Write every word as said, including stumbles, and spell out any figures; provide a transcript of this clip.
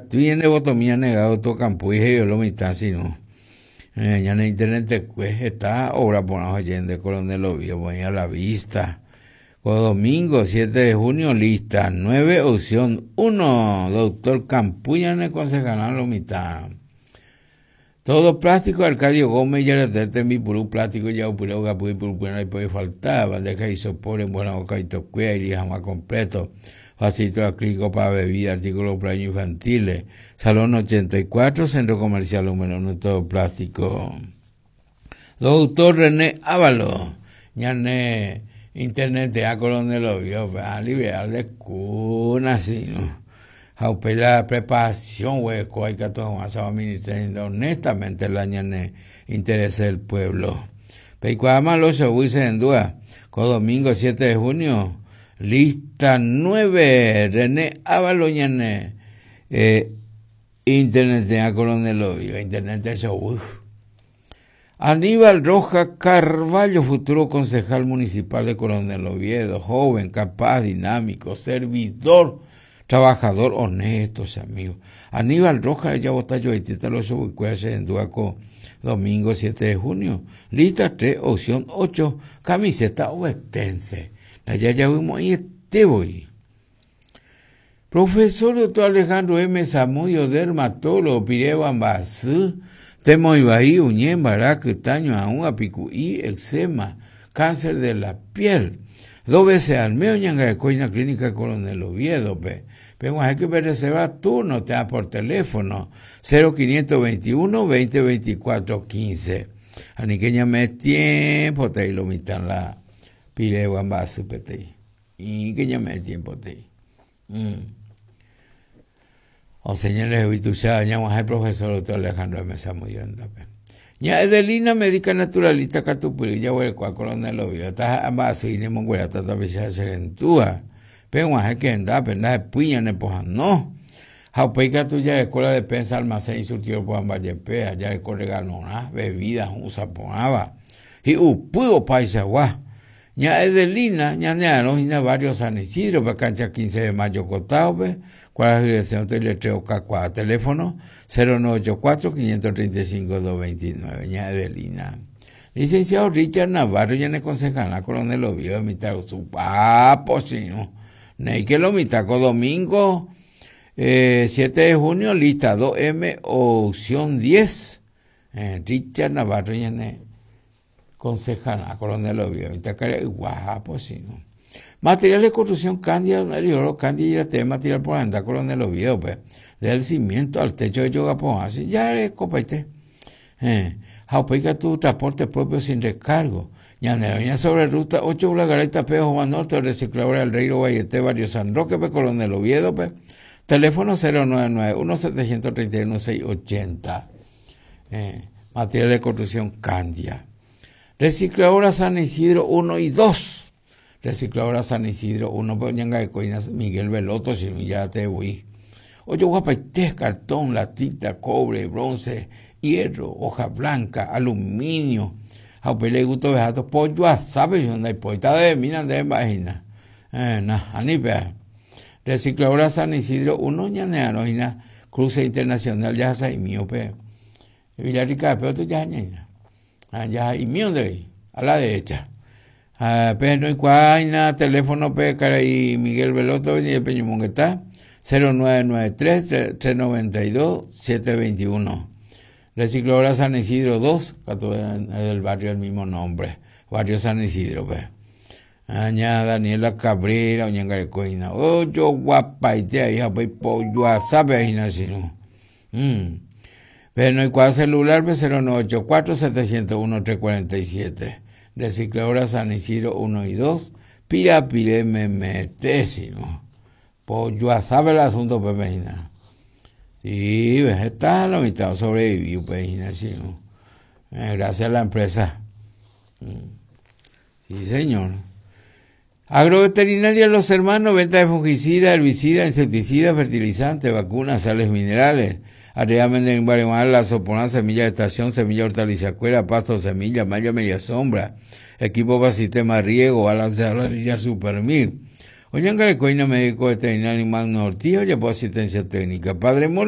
Ikatúi votomía negado to campo y lo mitad sino ñane internet está obra por de Coronel Oviedo a la vista. Domingo siete de junio, lista nueve, opción uno, doctor Campuña en el concejal lo mitad. Todo plástico, Arcadio Gómez, ya le mi puro plástico, ya puro gapu puro no puede faltar, bandeja y sopor, buena boca y tocuea y jamás completo. Vasito acrílico para bebida, artículos para infantiles. Salón ochenta y cuatro, Centro Comercial número uno, todo plástico. Doctor René Ávalo, ñane internet de a Coronel Oviedo, a liberal de cuna, sí, ¿no? Jaupe la preparación, güey, hay que ministerio, honestamente la ñane interés del pueblo. Peicuama los en duda, con domingo siete de junio, lista nueve, René Ávalo, ñane eh, internet de a Coronel Oviedo, internet de eso, uf. Aníbal Roja Carvalho, futuro concejal municipal de Coronel Oviedo, joven, capaz, dinámico, servidor, trabajador, honesto, amigos. Aníbal Roja, ya vota yo, los en Duaco, domingo siete de junio. Lista tres, opción ocho, camiseta ovetense. Allá ya vimos ahí este voy. Profesor doctor Alejandro M. Zamudio, dermatólogo, Pireba Ambasú, Temo Ibaí, Uñén, Barac, Taño, Aún, Apicuí, eczema, cáncer de la piel. Dos veces al mes, Ñangacoina, Clínica Coronel Oviedo, pe. Pero hay que reservar turno, te da por teléfono, cero quinientos veintiuno, veinte veinticuatro, quince. Aniqueña me tiempo, te iluminan la piregua en base, pete. Y que ya me tiempo, te. Mm. O señores, habitual, llamo al profesor doctor Alejandro M. Zamudio, pe. Ña Edelina, médica naturalista, Catupuri, ya voy a Coronel Oviedo, está en base, y ni monguera, está tapizada serentúa. Pero hay que andar, pero nada de puña, ne poja, no. Jaupeica tu ya escuela de pensa, almacén y surtido por Ambayepea, ya le corre ganona, bebidas, usa ponaba. Y upudo paisa guá. Ña Edelina, ña nea, no, ña barrio San Isidro, pa cancha quince de mayo cotao, pe. ¿Cuál es la dirección? Te letreo K cuatro, teléfono cero nueve ocho cuatro, quinientos treinta y cinco, dos veintinueve, ña Edelina. Licenciado Richard Navarro, ya ne concejal, la Coronel Oviedo, mitad su papo, señor. Ney que lo mitaco domingo, eh, siete de junio, lista dos M, opción diez. Eh, Richard Navarro, ya ne concejal, la Coronel Oviedo, mitad que guapo, señor. Material de construcción, Candia, donde yo Candia y la tema material por andar Coronel Oviedo, pues, desde el cimiento al techo de yoga, pues, así ya es copaite. Eh, Jaupeca tu transporte propio sin recargo. Ñaneroña sobre ruta ocho, Blagareta, Pejo, Juan Norte, recicladora del Rey Vallete, Barrio San Roque, pe, Coronel Oviedo, pe. Teléfono cero nueve nueve uno, setecientos treinta y uno, seis ochenta. Eh, material de construcción Candia. Recicladora San Isidro uno y dos. Recicladora San Isidro uno, pe, Ñanga de Coinas, Miguel Veloto, si ya te voy. Ocho, guapaité, cartón, latita, cobre, bronce, hierro, hoja blanca, aluminio. Jaupele gusto vejato, pollo a sabe, yo no hay poeta de mina de vagina. Eh, na, anipea. Recicladora San Isidro uno, ñanea, no, ina, cruce internacional, ya sa y mío, pe. Villarrica, pero tú ya ñaña. Ah, ya y mío de ahí, a la derecha. Ah, pe, no hay cuaina, teléfono, pe, cara y Miguel Veloto, y el Peño Monguetá, cero nueve nueve tres, tres, tres noventa y dos, siete veintiuno. Recicladora San Isidro dos, del barrio del mismo nombre, barrio San Isidro, pues. Aña Daniela Cabrera, oña Coina, ocho guapaite, hija, pues, pollo a sabe, ahí nací, ¿no? Mm. Pero no hay cuadro celular, pues, cero nueve ocho cuatro, setecientos uno, tres cuarenta y siete. Recicladora San Isidro uno y dos, pira, pire, me mete, si no. Pollo a sabe el asunto, pues, imagina. Sí, ves, está la mitad sobrevivió, pues, imagina, ¿no? Eh, gracias a la empresa. Mm. Sí, señor. Agroveterinaria Los Hermanos, venta de fungicida, herbicida, insecticida, fertilizante, vacunas, sales minerales. Arriba venden en la sopona, semilla de estación, semilla hortaliza, cuera, pasto, semilla, malla, media sombra, equipo para sistema de riego, balance de la línea Supermil. Oñanga de Coina, médico veterinario Magno Ortiz, ya por asistencia técnica. Padre Mola.